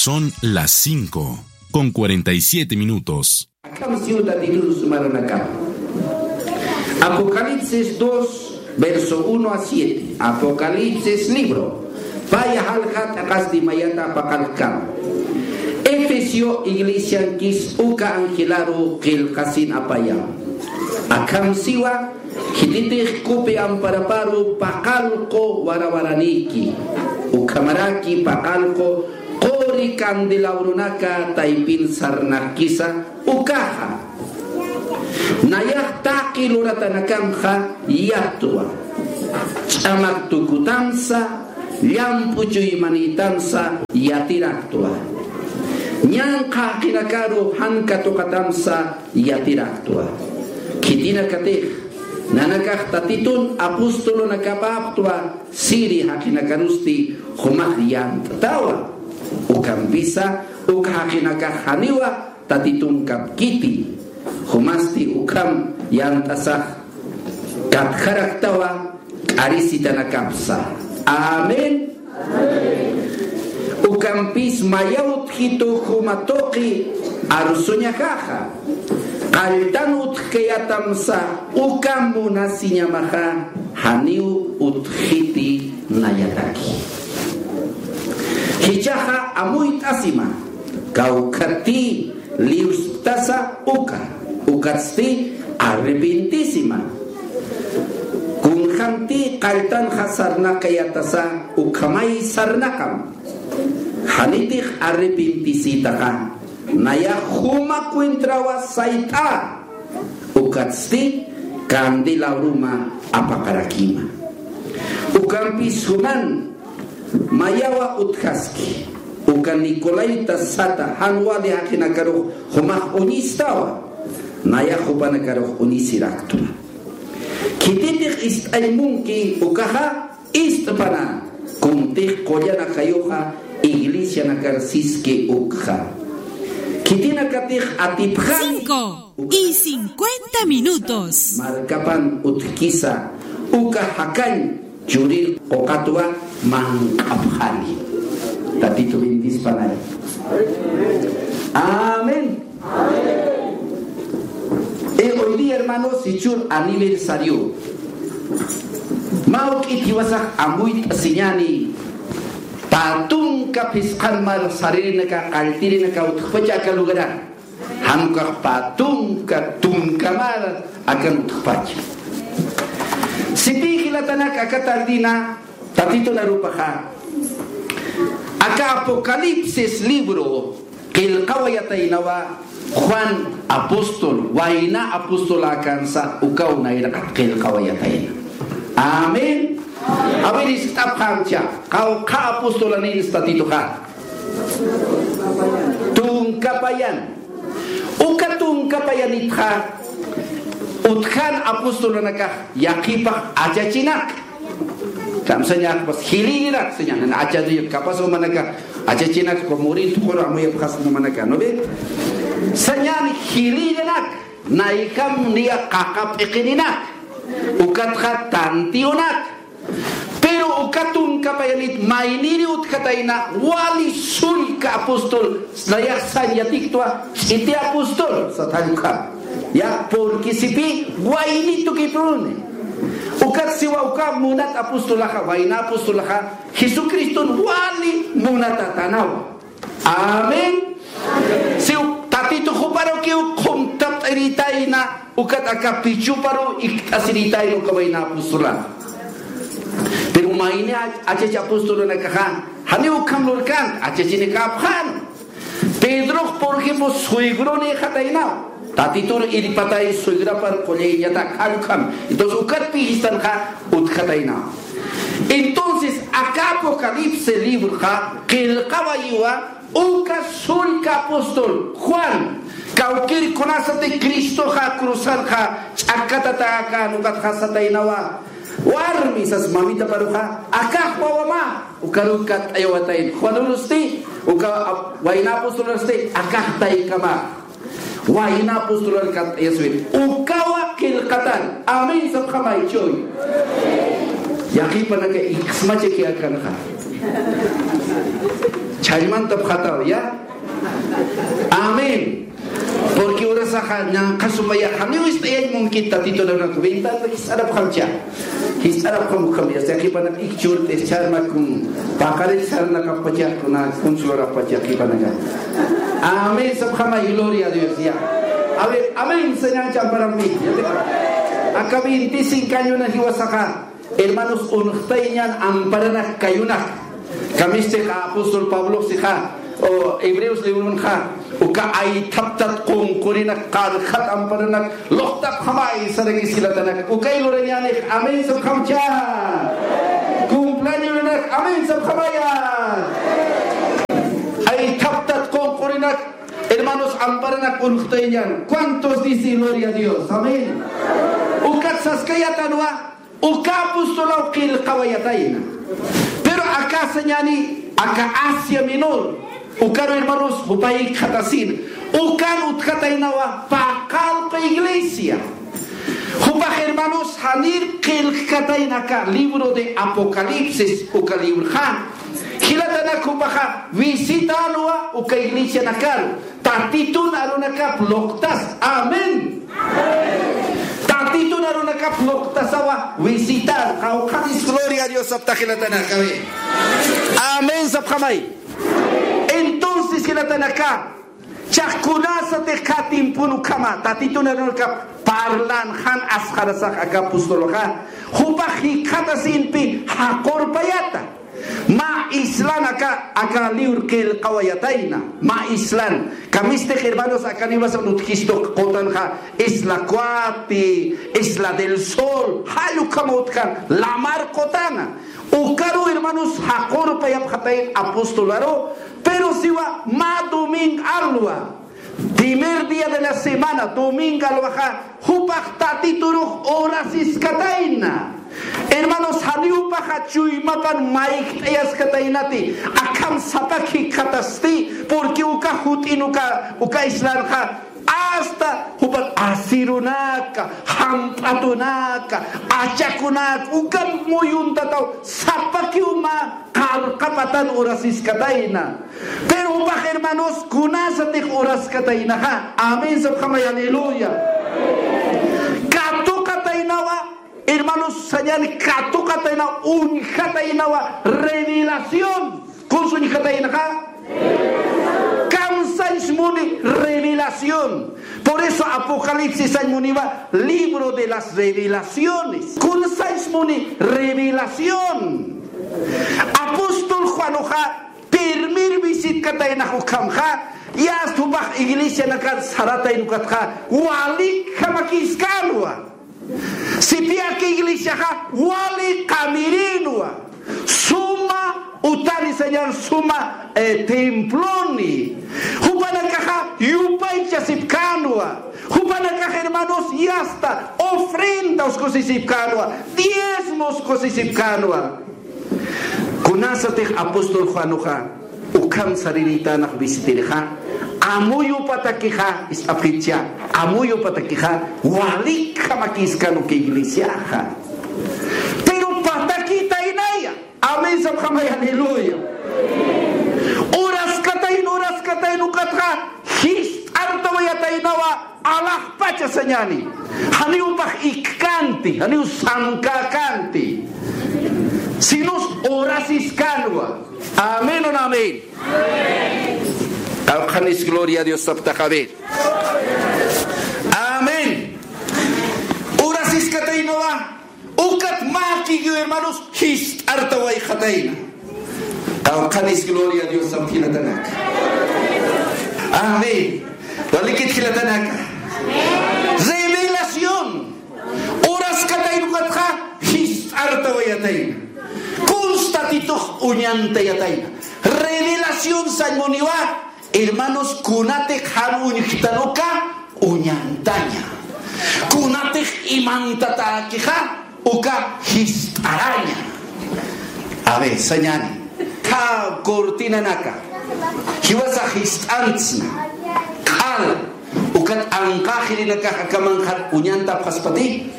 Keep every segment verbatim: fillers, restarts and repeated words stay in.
Son las cinco con cuarenta y siete minutos. Akham siw Tatitun suma runakama. Apocalipsis dos, verso uno a siete. Apocalipsis libro. Paya jalja t'aqasti mayata paqallkama. Efesio iglesiankis uka angelaru qillqasin apayam. Akham siwa, khititix kupi amparaparu paqallqu warawaranïki, ukhamaraki paqallqu quri candelabronaka taypin sarnaqkisa ukaxa. Nayax taqi luratanakamxa yatwa, ch'amak tukutamsa, llamp'u chuymanïtamsa yatiraktwa. Ñanqha jaqinakaru jan katuqatamsa yatiraktwa. Khitinakatix, nanakax Tatitun apostolunakapäptwa siri jaqinakarusti jumax yant'tawa. Ukampisa, uk jaqinakax janiwa Tatitunkapkiti. Jumasti ukham yant'asax katjaraktawa k'arisitanakapsa. Amén. Ukampis mayaw utjitu juma tuqi arsuñajaxa, qalltan utjkayatamsa uka munasiñamaxa, janiw utjiti nayataki. Jichhaxa amuyt'asima, kawkhatï liwsktasa uka, ukatsti arrepentisima. Kunjamtï qalltanxa sarnaqayatasa ukhamay sarnaqam. Janitix arrepentisïtaxa, nayax juma cuentrawa sayt'a, ukatsti candelabruma apaqarakima. Ukampis juman mayawa utjaski, uka Nicolaita sata, jan wali jaqinakarux jumax uñistawa, nayax jupanakarux uñisiraktwa. Khititix ist'añ munki ukaxa, ist'pana, kuntix qullan ajayuxa iglesianakar siski ukxa. Khitinakatix atipxani. Cinco y cincuenta minutos. Markapan utjkisa uka jakañ churir quqatwa manq'apxani. Tatitu bendispanay. Amén. Y hoy día, hermanos, jichhür aniversario. Mä juk'it jiwasax amuyt'asiñäni, pä tunka phisqan mar saririnaka, qalltirinaka utjpacha aka lugaran. Jan ukax pä tunka, tunka mar akan utjpacha. Sipï jilatanak, aka tardina Tatitun arupaxa, aka Apocalipsis libro qillqawayataynawa Juan apóstol, wayna apostolakansa ukaw nayraqat qillqawayatayna. Amén. A ver, iskt'apxamcha, qawqha apostolanïnsa Tatituxa. Tunka payan. Uka tunka payanitxa, utjan apostolanakax yaqhipax achachinak. Kamsañax, pues, jilïrinak, sañäni, achachinak, capaz jumanaka achachinak, como morir tuquru amuyapxasma jumanaka, ¿no ve? Sañäni jilïrinak, nayjam niya qaqa p'iqirinak, ukatxa tantiyunak. Pero uka tunka payanit mayniri utjatayna, wali sullka apóstol, nayax sañ yatiktwa, ch'iti apóstol, sat jall ukham. Ya, porque sipï wayni tukipuni. Ukat siwa uka munat apostolaxa, wayna apostolaxa, Jesucriston wali munatatänawa. Amén. Siw Tatitu juparukiw qhumtapt'irïtayna, ukat aka pichuparuw ikt'asirïtayna uka wayna apostolan. Pero mayni ach-, achach apostolanakaxa, janiw ukham lurkänti, achachinikäpxän. Pedrox, por ejemplo, suegronïxataynaw. Tatitun irpatay suegrapar qullayñatak, jall ukham. Entonces, ukat pï jistanxa utjataynaw. Entonces, aka Apocalipsis libroxa qillqawayiwa uka sullka apóstol Juan, kawkïr kunasati Cristoxa cruzanxa ch'akkatatäkän ukatxa sataynawa, warmi sas mamitaparuxa, akax wawamä, ukaruw katt'ayawatayna. Juanurusti, uka ap-, wayna apostolurusti, akax taykamä. Wayna apostolar katt'ayaswit. Ukawa qillqatan. Amén sapxamay, chuy. Yaqhipanaka iksmachakiyakanxa. Jallmantapxataw, ya. Amén. Porque urasaxa ñanqhasumaya, janiw ist'ayañ munkit Tatitun arunaka, ventana jis'arapxamcha. Jis'arapxam ukham, ya, yaqhipanak ikchurt'is charmakum, paqarix sarnaqapxpachax kuna, kunsularapxpachax yaqhipanaka. Amén sapxamay, gloria a Dios, ya. A ver, amén sañäni amparampi. Aka veinticinco añona jiwasaxa, hermanos, unxtayñan amparanak kayunak. Kamisti apóstol Pabloxixa, o Hebreos librunxa, uka aythaptat qunqurinak, qarxat amparanak luqtapxamay sarakis jilatanak. Ukay lurañänix, amén sapxamcha. Cumpleañonak, amén sapxamaya. Aythaptat qunqurinak, hermanos, amparanak unxtayñan. ¿Cuántos dicen gloria a Dios? Amén. Ukat saskayätanwa, uka apostolaw qillqawayatayna. Pero aka sañäni, aka Asia Menor, ukaru hermanos, jupax jikxatasina. Ukan utjataynawa paqallqu iglesia. Jupax hermanos, janir qillqkatayna aka libro de Apocalipsis, uka libroxa. Jilatanak, jupaxa visitänwa uka iglesianakaru. Tatitun arunakap luqtas. Amén. Tatitun arunakap luqtasawa visitar. Qawqhanis gloria a Dios sapxta jilatanaka. Amén sapxamay. Entonces jilatanaka, jichhax kunasatix aka tiempon ukhama Tatitun arunakap parlan jan asxarasax aka apostolxa, jupax jikxatasinpi jaqurpayäta. Mä islan aka, aka libro qillqawayatayna, mä islan. Kamistix hermanos, aka niwasan utjistu qutanxa, Isla Cuati, Isla del Sol, jall ukhama utjan, lamar qutana. Ukaru hermanos, jaqurpayapxatayna apostolaru, pero siwa mä domingo alwa. Primer día de la semana, domingo alwaxa, jupax Tatiturux urasiskatayna. Hermanos, janiw jupaxa chuymapan mayjt'ayaskataynati, akham sapak jikxatasti, porque uka jut'in uka, uka islanxa, hasta jupan asirunaka, jamp'atunaka, achakunaka, uka muyuntataw, sapakiw mä qarqapatan urasiskatayna. Pero jupax hermanos, kunasatix uraskataynaxa. Amén sapxamay, aleluya. Katuqataynawa, hermanos, sañäni katuqataynawa, uñjataynawa revelación. ¿Kuns uñjataynaxa? Kamsañs muni revelación. Por eso Apocalipsis sañ muniwa libro de las revelaciones. Kunsañs muni revelación. Apóstol Juanuxa primir visitkataynax ukhamxa, yasta jupax iglesianakat saratayna ukatxa, walikhamakiskänwa. Sipiyaki iglesiaxa wali qamirinwa. Suma utani sañäni, suma, eh, temploni. Jupanakaxa yupaychasipkänwa. Jupanakax hermanos, yasta ofrendas kusisipkänwa. Diezmos kusisipkänwa. Kunasatix apóstol Juanuxa ukham sarirïtänax visitirixa, amuyupatakixa, ist'apxitcha, amuyupatakixa, walikhamakiskän uka iglesiaxa. Pero patakitaynaya. Amén sapxamay, aleluya. Uraskatayna, uraskatayna ukatxa, jist'artawayataynawa, alaxpacha sañäni. Janiw jupax ikkkanti, janiw samkäkänti. Sinus urasiskänwa. Amén o no amén. Qawqhanis gloria a Dios sapxtaxa, a ver. Amén. Urasiskataynawa. Ukat mä kikiw hermanos, jist'artawayxatayna. Qawqhanis gloria a Dios sapxta jilatanaka. Amén. Walikit jilatanaka. Revelación. Uraskatayna ukatxa, jist'artawayatayna. Kuns Tatitux uñantayatayna. Revelación sañ muniwa, hermanos, kunatix jan uñjtan uka uñantaña. Kunatix imantatäkixa uka jist'araña. A ver, sañäni. Aka cortinanaka jiwasax jist'antsna. Q'al. Ukat anqaxirinakax akamanxar uñantapxaspati.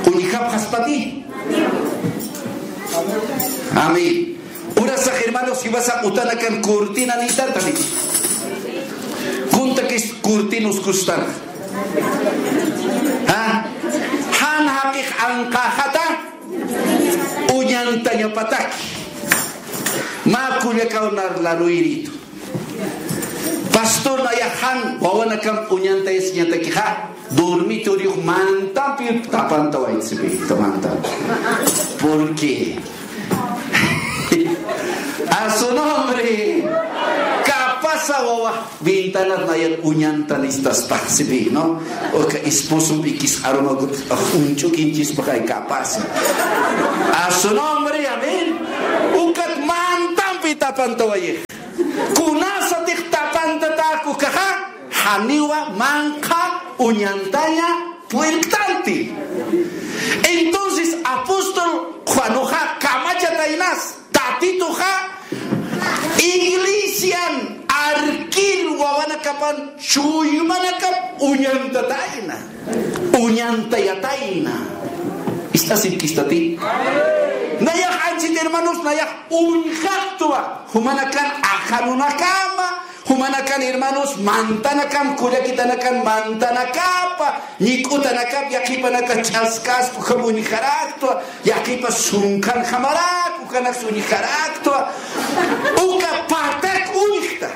Uñjapxaspati. Amén. Urasax, hermanos, jiwasax utanakan cortina niytantani. Kuntakis cortinas kustan. ¿Ha? Jan jaqix anqaxata uñantañapataki. Mä kullakaw nar laruyiritu. Pastor, nayax jan wawanakamp uñantayasiñatakixa, dormitoriux mantampi tapantawayt'sipïta, mantampi. ¿Por qué? A su nombre. Capasa wawa ventanas nayan uñantanistaspaxsipï, ¿no? Uka esposompikis arumakut uñch'ukinchispaxay capasa. A su nombre, amén. Ukat mantampi tapantawayix. Kunasatix tapantatäk ukaxa, janiwa manqha uñantaña purirktanti. Entonces apóstol Juanuxa kamachataynas, Tatituxa iglesian arkir wawanakapan chuymanakap uñantatayna, uñantayatayna. ¿Ist'asipkistati? Nayax anchhit, hermanos, nayax uñjaktwa jumanakan ajanunakama, jumanakan, hermanos, mantanakan, kullakitanakan mantanakapa, ñik'utanakap, yaqhipanaka ch'askaspa ukham uñjaraktwa, yaqhipa sunkanjamarak ukhanaks uñjaraktwa, uka patak uñjta.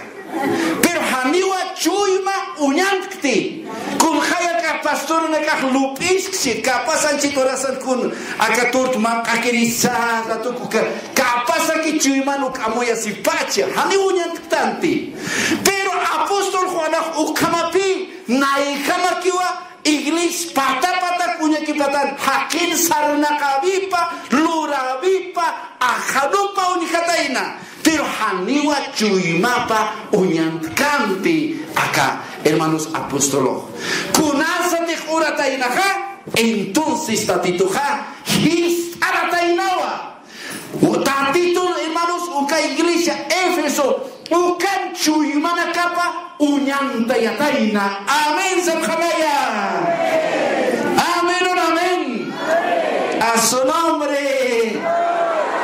Pero janiwa chuyma uñantkti. Kunxay aka pastorunakax lup'isksi, capaz anchhit urasan kun aka tort manq'akirisar ratuku ka, capaz aki chuyman uk amuyasipacha, janiw uñantktanti. Pero apóstol Juanax ukhamapï nayjamakiwa iglesia pata pata uñakipatan, jaqin sarnaqäwipa, luräwipa, ajanupa uñjatayna. Pero janiwa chuymapa uñantkampi aka, hermanos, apóstolox. Kunasatix urataynaxa, entonces Tatituxa jist'arataynawa. Tatitun, hermanos, uka iglesia Éfeso, ukan chuymanakapa uñantayatayna. Amén, sapxamaya. Amén, un amén. A su nombre.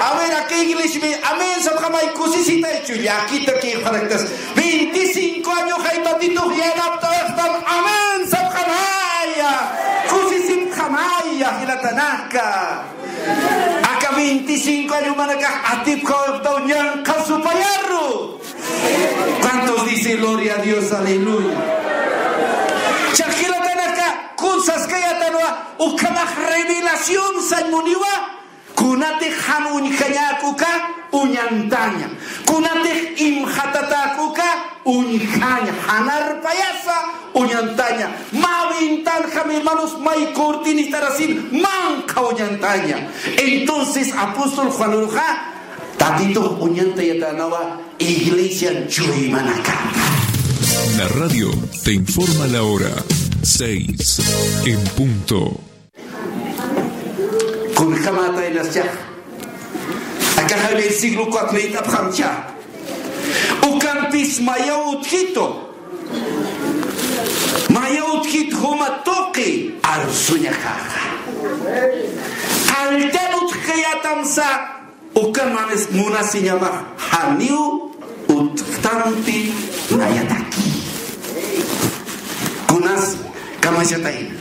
A ver, aka iglesia, amén, sapxamay, kusisitaychu, llakita kixparaktas. Veinticinco año jay Tatitux yanaptawayxtam, amén, sapxamaya. Kusisipxamaya, jilatanaka. Aka veinticinco año manakax atipkawayxtaw ñanqha supayaru. ¿Cuántos dicen gloria a Dios? Aleluya. Chaqilatanaka, kun saskayatanwa, ukhamax revelación sañ muniwa, kunatix jan uñjañäk uka uñantaña, kunatix imxatatäk uka uñjaña, jan arpayasa uñantaña, mä ventanjam, hermanos, may cortinistarasin manqha uñantaña. Entonces apóstol Juanuruxa Tatitux uñantayatänawa iglesian chuymanakapa. La radio te informa la hora, seis en punto. Kunjamataynaschä. Akaxa versículo cuatro niyt'apxamcha. Ukampis mayaw utjitu. Mayaw utjit juma tuqi arsuñaxaxa. Qalltan utjkayätamsa, ukan mamis munasiñamax janiw utjtanti nayataki. Kunas kamachatayna.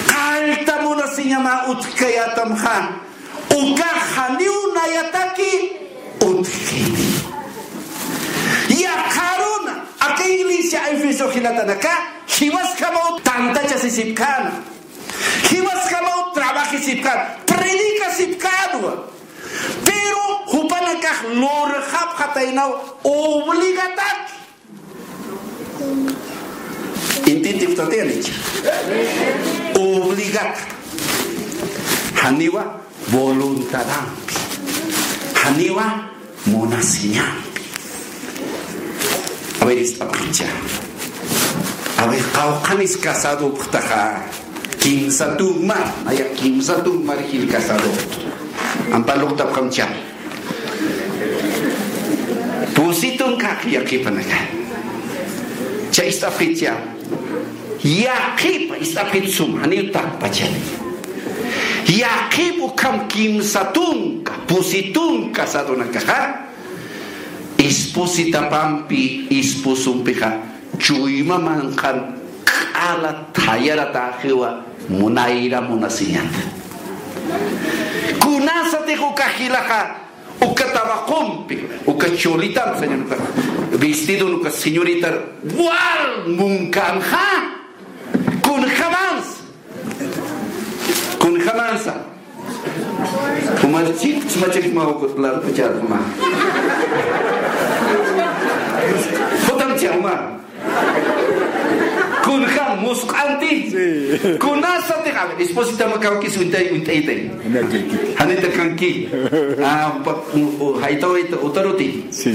Qallta munasiñama utjkayätamxa, ukax janiw nayataki utjkiti. Yaqharuna, aka iglesia Éfeso jilatanaka, jiwasjamaw tantachasisipkäna. Jiwasjamaw trabajisipkän, predicasipkänwa. Pero jupanakax lurxapxataynaw obligataki. Intintipxtatiyanich. Obligata. Janiwa voluntadampi. Janiwa munasiñampi. A ver, ist'apxicha. A ver, qawqhanis casadopxtaxa. Kimsa tumar, aya kimsa tumar jil casado. Ampa luqtapxamcha. Pusitun kaq yaqhipanaka. Cha ist'apxicha. Yaqhipa ist'apxit sum, janiw takpachani. Yaqhip ukham kimsa tunka, pusi tunka sadunakaxa, espositapampi, esposompixa, chuyma manqhan q'ala thayaratäxiwa munayra munasiñata. Kunasatix uka jilaxa, uka tabaqompi, uka cholitan, señor, uka vestidon, uka señoritar, wal munkänxa, kunjamansa. Kunjamansa. Jumar chik, chuma chik ma ukut lar, puchar, juma. Jutam chuma. Kunjam musq'anti. Sí. Kunasatix, a ver, esposita mä kawkis uñt'ay, uñt'aytay. Uñt'aytay. Janita kanki. Ah, pa, u, u, jayta, jayta, utaruti. Sí.